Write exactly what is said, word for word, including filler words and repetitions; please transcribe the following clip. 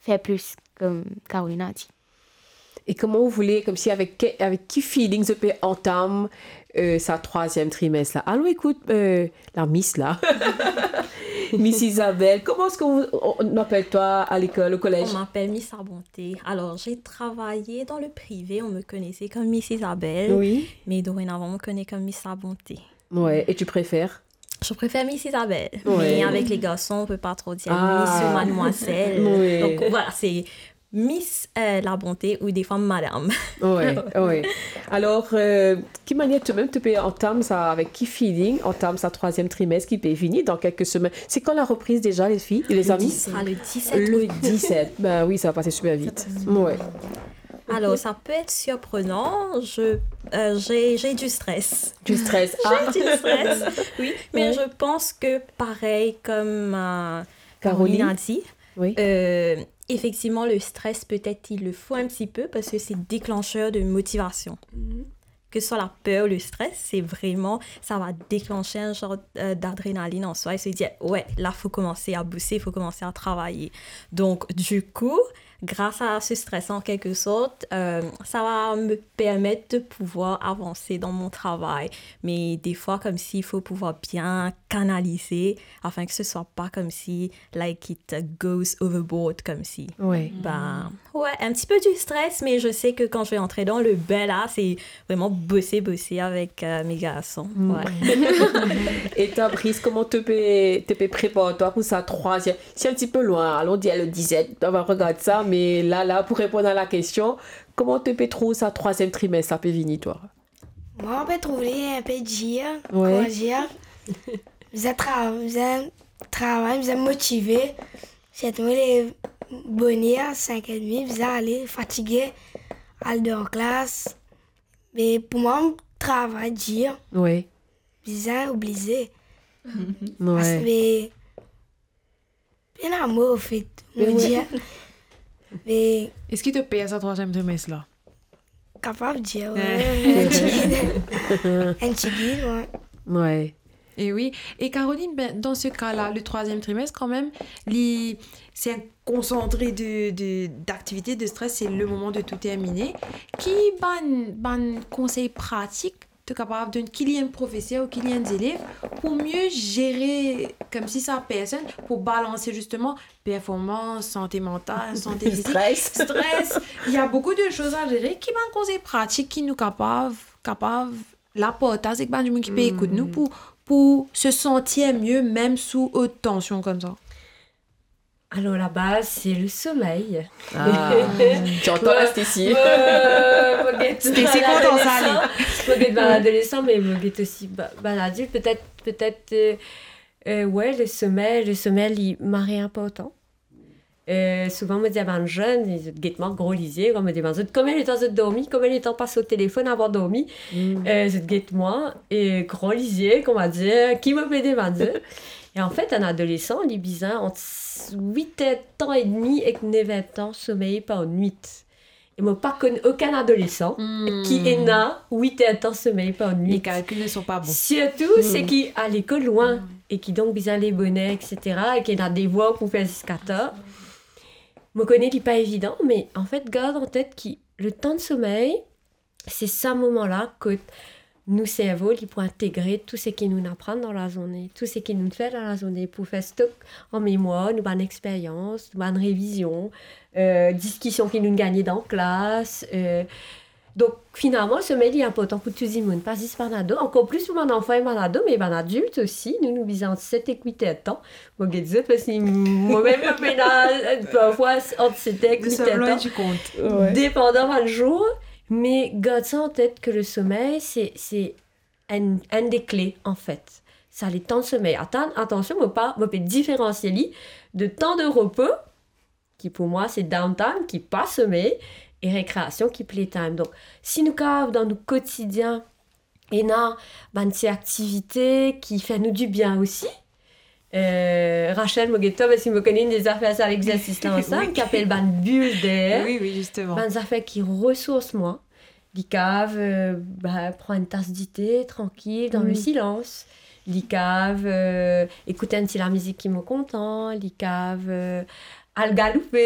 fer plis, kom Caroline a dir. E kouma ou voule, komsi avek ke, avek ki feeling zot pe antam, euh, sa trwaziem trimes la? Alon ekout, euh, la Miss la. Miss Isabelle, comment est-ce qu'on on, on appelle toi à l'école, au collège? On m'appelle Miss Abonté. Alors, j'ai travaillé dans le privé, on me connaissait comme Miss Isabelle, oui, mais dorénavant, on me connaît comme Miss Abonté. Ouais, et tu préfères? Je préfère Miss Isabelle, ouais, mais avec les garçons, on peut pas trop dire, ah, Miss ou mademoiselle. Oui. Donc voilà, c'est Miss, euh, Labonté ou defwa madam. Ouais, ouais. Alors, euh, ki manier to mem to pe antam sa, avek ki feeling antam sa trwaziem trimes ki pe vini dan kelke semenn? C'est quand la reprise déjà, les filles, les amis? Le dix-sept. Ce sera le dix-sept. Le dix-sept. Ben oui, ça va passer super vite. Ouais. Alors, ça peut être surprenant. Je, euh, j'ai, j'ai du stress. Du stress. J'ai, ah, du stress, oui. Mais, ouais, je pense que pareil comme, euh, Caroline, Caroline a dit, oui, euh, effectivement, le stress, peut-être, il le faut un petit peu parce que c'est déclencheur de motivation. Mhm. Que ce soit la peur ou le stress, c'est vraiment, ça va déclencher un genre, euh, d'adrénaline en soi et se dire, ouais, là, faut commencer à bosser, faut commencer à travailler. Donc, du coup, grâce à ce stress, en quelque sorte, euh, ça va me permettre de pouvoir avancer dans mon travail. Mais des fois, comme s'il faut pouvoir bien canaliser afin que ce soit pas comme si, like, it goes overboard, comme si. Ouais. Ben, ouais, un petit peu du stress, mais je sais que quand je vais entrer dans le bain, là, c'est vraiment bosser, bosser avec, euh, mes garçons. Mm. Ouais. E twa, Brice, kouma to pe, to pe prepar twa pou sa trwaziem? C'est un petit peu loin, allons dire le dix-sept, on va regarder ça, mais là, là, pour répondre à la question, kouma to pe trouv sa trwaziem trimes la pe vini, twa? Mwa, mo pe trouv li inpe dir, ouais, kouma dir. Bizin tra-, bizin travay, bizin motive. Sirtou mo lev boner, sink edmi, bizin ale, fatige, al dan klas. Me pou mwa, travay dir. Ouais. Bizin oblize. Ouais. Pas-, me Pena mo, anfet, mo dir. Me eski to per sa trwaziem trimes la? Kapav dir, ouais. Enn tigit. Enn tigit, ouais. Ouais. E wi. E Caroline, ben, dan se ka la, le trwaziem trimes, kanmem, li, c'est un concentré de, de, d'activités, de stress, c'est le moment de tout terminer. Ki bann, bann konsey pratik to kapav donn ki li enn profeser ou ki li enn zelev pou mie zere, komsi sa personn, pou balanse zisteman performans, sante mantal, sante fizik, stres. Stres. Il y a beaucoup de choses à gérer. Ki bann konsey pratik ki nou kapav, kapav la partaz ek bann dimoun ki pe ekout nou pou, pou se santir mie, mem sou ot tansion koumsa? Alors, la base, c'est le sommeil. Ah, tu entends, ouais, Stacy? Ouais, ouais, ouais, mo get... Stacy kontan sa, li. Mo get bann adolesan, me mo get osi ba-, bann adilt. Peut-être, peut-être, euh, euh, ouais, le sommeil, le sommeil, li mari inportan. Euh, souvan, mo dir bann zenn, zot get mwa gro lizie, kan mo demann zot konbien letan zot dormi, konbien letan pas lor telefonn avan dormi, euh, zot get mwa, e gran lizie, kouma dir, ki mo pe demann zot. E anfet, enn adolesan, li bizin ant wit er tan edmi ek nef er tan somey par nwit. E mo pa konn okenn adolesan ki ena wit er tan somey par nwit. Les calculs ne sont pas bons. Sirtou, seki al lekol lwin, e kidonk bizin leve boner, et cetera, e ki ena devwar pou fer ziska tar. Mo kone li pa evidan, me anfet, gard an tet ki letan somey, se sa moman la kot nou servo, li pou integre tou seki nou aprann dan lazourne, tou seki nou fer dan lazourne, pou fer stok an memwar nou bann experyans, nou bann revizion, euh, diskision ki nou gagne dan klas, euh. Donk, finalman, somey li inportan pou tou dimoun, pa zis bann ado, ankor plis pou bann zanfan e bann ado, me bann adilt osi, nou, nou bizin ant set ek wit er tan. Mo get zot, parski momem, mo pena, parfwa, ant set ek wit er tan. Depandan bann zour, me gard sa an tet ke le somey, se, se enn, enn de kle, anfet. Sa letan somey. Atann, atansion, mo pa, mo pe diferansie li de tan de repo, ki pou mwa se downtime, ki pa somey, e rekreasion, ki playtime. Donk, si nou kapav dan nou kotidien, ena bann ti aktivite ki fer nou dibien osi. Euh, Rachel, mo get twa, parski mo kone inn de zafer sa, legzersis la ansam, ki apel bann bul der. Wi, wi, zisteman. Bann zafer ki resours mwa. Li kav, euh, ba, pran enn tas dite, trankil, dan le silans. Li kav, euh, ekout enn ti lamizik ki mo kontan. Li kav, euh, al galoupe,